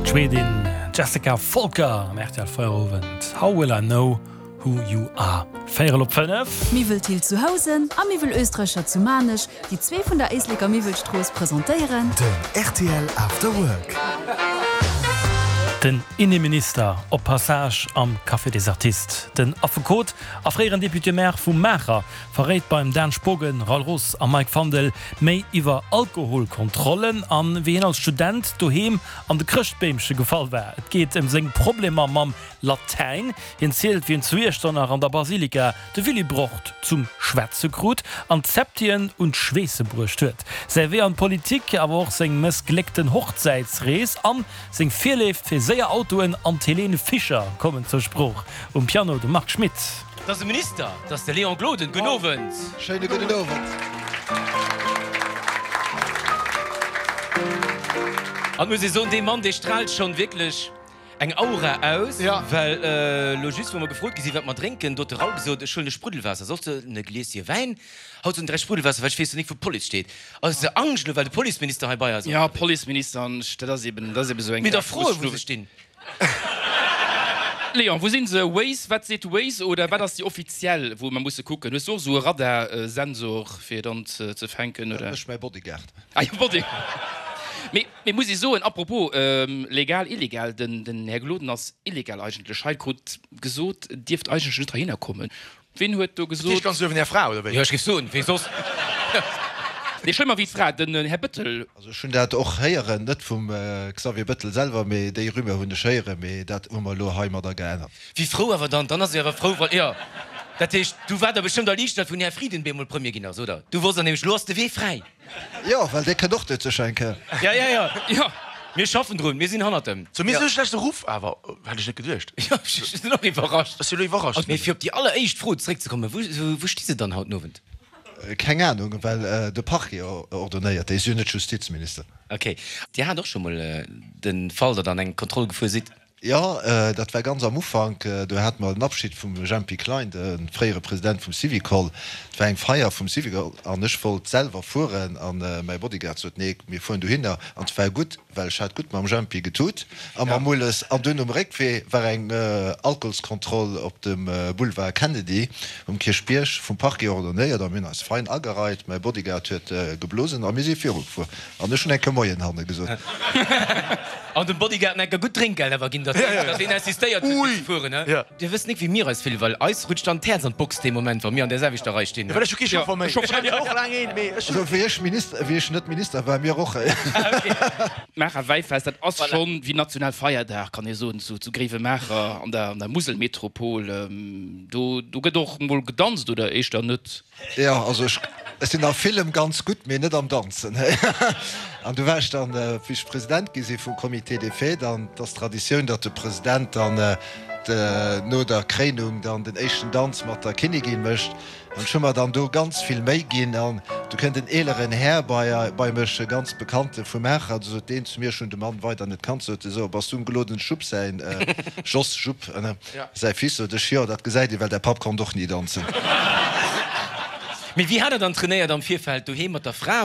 D'Schwedin Jessica Folcker am rtl Feierowend, How Will I Know Who You Are. Véierel op 5. Miwwel Thill zu Housen a Miwwel Oesträcher zu Maarnech, déi zwee vun der Éisleker Miwwelstrooss, presentéieren. Den rtl After Work. Den Inneminister op Passage am Café des Artistes. Den Affekot a fréieren Député-Maire vu Maacher verréit beim Dan Spogen, Raoul Roos a Mike Fandel méi iwwer Alkoholkontrollen an wéi hien als Student doheem an de Chrëschtbeemche gefall war. Et geet ëm seng Problemer mam Latäin. Hien zielt, wéi en zu Iechternach an der Basilika de Willibrord zum Schwätze krut an d'Septien un d'Schweesse bruecht huet. Säi Wee an d'Politik, awer och seng mëssgléckten Hochzäitsrees an seng Virléift fir séier Autoen an d'Helene Fischer kommen zur Sprooch. Um Piano de Marc Schmitt. Et ass e Minister, et ass de Léon Gloden. Gudden Owend. Schéine gudden Owend. An et muss ee soen, dee Mann, dee straalt schonn wierklech Eng Aura aus, well elo just wou mer gefrot gi sinn, wat mer drénken, do huet de Raoul gesot, ech huelen e Spruddelwaasser, soss de e Glieschen Wäin, haut soen 3 Spruddelwaasser, well ech weess jo nik wou d'Police steet. Ass de Angscht elo well de Policeminister hei bei eis ass? Jo, Policeminister an ech, dat ass eben, dat ass eben esou eng Mir da froen, wou se stinn. Léon, wou sinn se? Waze, wat seet Waze oder wat ass déi offiziell, wou mer musse kucken? Hues du och esou e Radarsensor fir dann ze fänken, oder? Dat mécht mäi Bodyguard. Ah jo, Body. Mee. Mee muss ee soen, apropos legal, illegal, den Här Gloden ass illegal eigentlech hei, krut gesot, dierft eigentlech net heihinner kommen. Ween huet do gesot? Dat heescht ganz uewen Är Fra, oder wéi? Jo, ech géif soen, wee soss? Nee, schlëmmer wéi d'Fra, den Här Bëttel. Also ech hunn dat och héieren, net vum Xavier Bëttel selwer, mee déi Rumeur hunn ech héieren, mee dat hu mer elo heimadder geännert. Wéi frou awer dann, dann ass ee awer frou, wann, jo, dat heescht, du waart der bestëmmt erliichtert, wou den Här Frieden bemol Premier ginn ass, oder? Du wosst dann nämlech, elo ass de Wee fräi. Jo, well dee kënnt och net sécher eng Kéier. Ja, ja, ja, jo, mir schaffen drun, mir sinn hannert em. Zu mir esou schlechte Ruff awer, hätt ech net geduecht. Jo, ech sinn och iwwerrascht. Ech sinn elo iwwerrascht. Mee fir op déi alleréischt Fro zeréckzekommen, wou, wou sti se dann haut den Owend? Keng Anung, well de Parquet ordonnéiert, dee ass jo net Justizminister. Ok. Dir hat och scho mol de Fall, datt Der an eng Kontroll gefuer sidd? Jo, dat war ganz am Ufank. Do hate mer den Abschid vum Jempy Klein, de fréiere President vum Syvicol. Et war eng Feier vum Syvicol an ech wollt selwer fueren an mäi Bodyguard sot, Nee, mir fueren dohinner. An et war gutt, well ech hat gutt mam Jempy getut a mam Mulles. An dunn um Réckwee war eng Alkoholskontroll op dem Boulevard Kennedy um Kierchbierg vum Parquet ordonnéiert a mir hunn eis fein agereit. Mäi Bodyguard huet geblosen a mir si virugefuer. An ech hunn eng Kéier Moien hanne gesot. An dem Bodyguard enker gutt Drénkgeld awer ginn, datt deen insistéiert huet fir ze fueren, he? Dir wësst nik wéi mir eis fillen, well eis rutscht dann d'Häerz an d'Box dee Moment, wa mir an där selwechter Rei stinn. Well ech hu kee Chauffer méi. Ech hat och laang een, mee ech. Also wéi ech Minister, wéi ech net Minister war, mir och. D'Maacher Wäifest, dat ass schonn wéi Nationalfeierdag, kann ee soen, zu Gréiwemaacher an der Muselmetropol. Do gëtt och mol gedanzt, oder éischter net? Jo, also ech sinn a villem ganz gutt, mee net am Danzen. An du war ech dann, wéi ech President gi si vum Comité des Fêtes, an et ass Traditioun, datt de President dann no der Kréinung dann den éischten Danz mat der Kinnigin mécht. An ech hu mer dann do ganz vill Méi ginn. An du kënnt en eeleren Här bei bei mech, e ganz Bekannte vu Maacher, du sot deen zu mir, ech hunn de Mann weider net kannt, sot e, So, bass du dem Gloden Jupp säin, Jos Jupp, ne? Säi Fils sot ech, jo, dat gesäit ee, well däi Papp konnt och ni danzen. Mee wéi hat der dann trainéiert am Virfeld? Doheem mat der Fra?